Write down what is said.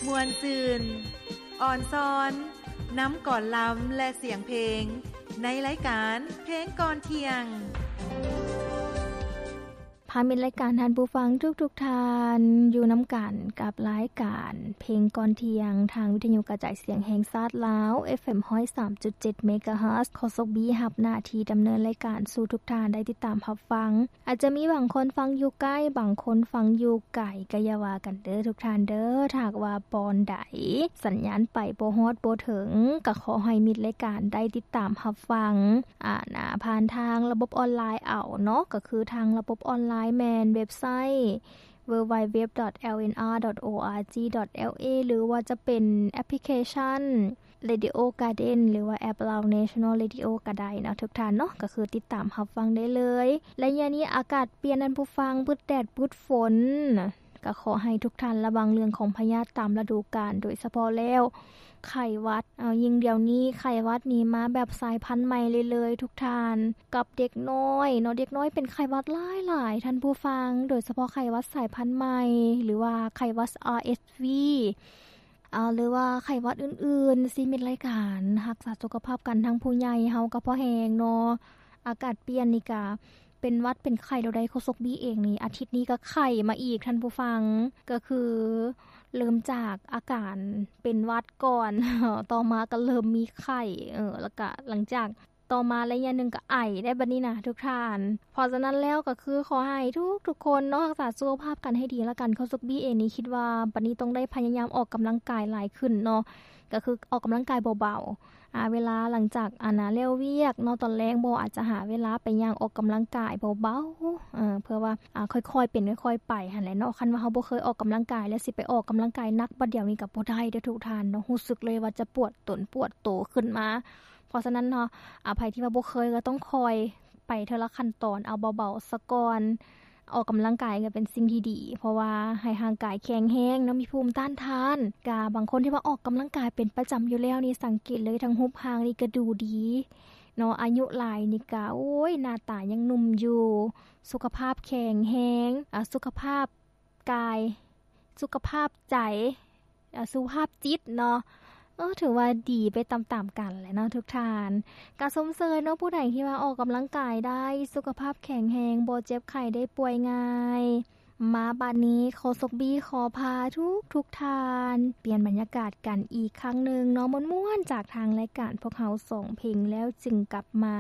ມ່ວນຊື່ນ, ອ່ອນຊອນ, ນຳກອນລຳ ແລະ ສຽງເພງ ໃນລາຍການເພງກ່ອນທ່ຽງ. ພາມິດລາຍການທ່ານຜູ້ຟັງທຸກໆທ່ານ ຢູ່ນຳກັນກັບລາຍການເພງກ່ອນທ່ຽງ ທາງວິທະຍຸກະຈາຍສຽງແຫ່ງຊາດລາວ ເອັຟເອັມ ຮ້ອຍສາມຈຸດເຈັດ ເມກາເຮີດ. ໂຄສົກບີຮັບໜ້າທີ່ດຳເນີນລາຍການສູ່ທຸກທ່ານໄດ້ຕິດຕາມຮັບຟັງ. ອາດຈະມີບາງຄົນຟັງຢູ່ໃກ້, ບາງຄົນຟັງຢູ່ໄກ, ກະຢ່າວ່າກັນເດີທຸກທ່ານເດີ. ຖ້າຫາກວ່າບ່ອນໃດສັນຍານໄປບໍ່ຮອດບໍ່ເຖິງ, ກະຂໍໃຫ້ມິດລາຍການໄດ້ຕິດຕາມຮັບຟັງ ອາ ນາ ຜ່ານທາງລະບົບອອນລາຍເອົາເນາະ, ກະຄືທາງລະບົບອອນລາຍແມ່ນເວັບໄຊ ดัບເບິນຢູ ດັບເບິນຢູ ດັບເບິນຢູ ດອດ ແອລເອັນອາ ດອດ ໂອອາຈີ ດອດ ແອລເອ ຫຼືວ່າຈະເປັນແອັບພລິເຄຊັນ Radio Garden ຫຼືວ່າແອັບລາວ National Radio ກະໄດ້ເນາະທຸກທ່ານເນາະ, ກະຄືຕິດຕາມຮັບຟັງໄດ້ເລີຍ. ໄລຍະນີ້ອາກາດປ່ຽນທ່ານຜູ້ຟັງ, ປຶດແດດປຶດຝົນ, ກະຂໍໃຫ້ທຸກທ່ານລະວັງເລື່ອງຂອງພະຍາດຕາມລະດູການ, ໂດຍສະເພາະແລ້ວໄຂ້ຫວັດ. ເອົາ ຍິ່ງດຽວນີ້ໄຂ້ຫວັດນີ້ມາແບບສາຍພັນໃໝ່ເລື້ອຍໆ ທຸກທ່ານ, ກັບເດັກນ້ອຍເນາະ, ເດັກນ້ອຍເປັນໄຂ້ຫວັດຫຼາຍໆ ທ່ານຜູ້ຟັງ, ໂດຍສະເພາະໄຂ້ຫວັດສາຍພັນໃໝ່ ຫຼືວ່າໄຂ້ຫວັດ ອາ ເອັສ ວີ ອາ ຫຼືວ່າໄຂ້ຫວັດອື່ນໆ. ຊິມິດລາຍການຮັກສາສຸຂະພາບກັນທັງຜູ້ໃຫຍ່ເຮົາກະພໍແຮງເນາະ, ອາກາດປ່ຽນນີ້ກະເປັນຫວັດເປັນໄຂ້ແລ້ວໃດ໋. ໂຄສົກບີເອງນີ້ ອາທິດນີ້ກະໄຂ້ມາອີກທ່ານຜູ້ຟັງ, ກະຄືເລີ່ມຈາກອາການເປັນຫວັດກ່ອນ, ຕໍ່ມາກະເລີ່ມມີໄຂ້, ເອີ ແລ້ວກະຫຼັງຈາກ ຕໍ່ມາໄລຍະໜຶ່ງກະໄອໄດ້ບັດນີ້ນະທຸກທ່ານ. ເພາະສະນັ້ນແລ້ວກະຄືຂໍໃຫ້ທຸກໆຄົນເນາະ ຮັກສາສຸຂະພາບກັນໃຫ້ດີລະກັນ. ໂຄສົກບີເອງນີ້ຄິດວ່າບັດນີ້ຕ້ອງໄດ້ພະຍາຍາມອອກກຳລັງກາຍຫຼາຍຂຶ້ນເນາະ, ກະຄືອອກກຳລັງກາຍເບົາໆ ອາ ເວລາຫຼັງຈາກ ອາ ນາ ແລ້ວວຽກເນາະ, ຕອນແລງບໍ່ ອາດຈະຫາເວລາໄປຍ່າງອອກກຳລັງກາຍເບົາໆ ເອີ ເພື່ອວ່າ ອາ ຄ່ອຍໆເປັນຄ່ອຍໆໄປຫັ້ນແຫຼະເນາະ. ຄັນວ່າເຮົາບໍ່ເຄີຍອອກກຳລັງກາຍ ແລ້ວຊິໄປອອກກຳລັງກາຍໜັກບັດດຽວນີ້ກະບໍ່ໄດ້ເດີທຸກທ່ານເນາະ, ຮູ້ສຶກເລີຍວ່າຈະປວດຕົນປວດໂຕຂຶ້ນມາ. ເພາະສະນັ້ນເນາະ ອາ ໃຜທີ່ວ່າບໍ່ເຄີຍກະຕ້ອງຄ່ອຍໄປເທື່ອລະຂັ້ນຕອນ ເອົາເບົາໆສາກ່ອນ, ອອກກຳລັງກາຍກະເປັນສິ່ງທີ່ດີ ເພາະວ່າໃຫ້ຮ່າງກາຍແຂງແຮງເນາະ, ມີພູມຕ້ານທານ. ກະບາງຄົນທີ່ວ່າອອກກຳລັງກາຍເປັນປະຈຳຢູ່ແລ້ວນີ້ ສັງເກດເລີຍ ທັງຮູບຮ່າງນີ້ກະດູດີເນາະ, ອາຍຸຫຼາຍນີ້ກະ ໂອ້ຍ ໜ້າຕາຍັງໜຸ່ມຢູ່, ສຸຂະພາບແຂງແຮງ, ອາ ສຸຂະພາບ ກາຍ, ສຸຂະພາບໃຈ, ອາ ສຸຂະພາບຈິດເນາະ, ເອີ ຖືວ່າດີໄປຕາມໆກັນແຫຼະເນາະທຸກທ່ານ. ກະຊົມເຊີຍເນາະ ຜູ້ໃດທີ່ວ່າອອກກຳລັງກາຍໄດ້, ສຸຂະພາບແຂງແຮງ, ບໍ່ເຈັບໄຂ້ໄດ້ປ່ວຍງ່າຍ. ມາບາດນີ້ ໂຄສົກບີຂໍພາທຸກໆທ່ານປ່ຽນບັນຍາກາດກັນອີກຄັ້ງໜຶ່ງເນາະ, ມ່ວນໆ ຈາກທາງລາຍການພວກເຮົາສອງເພງແລ້ວຈຶ່ງກັບມາ.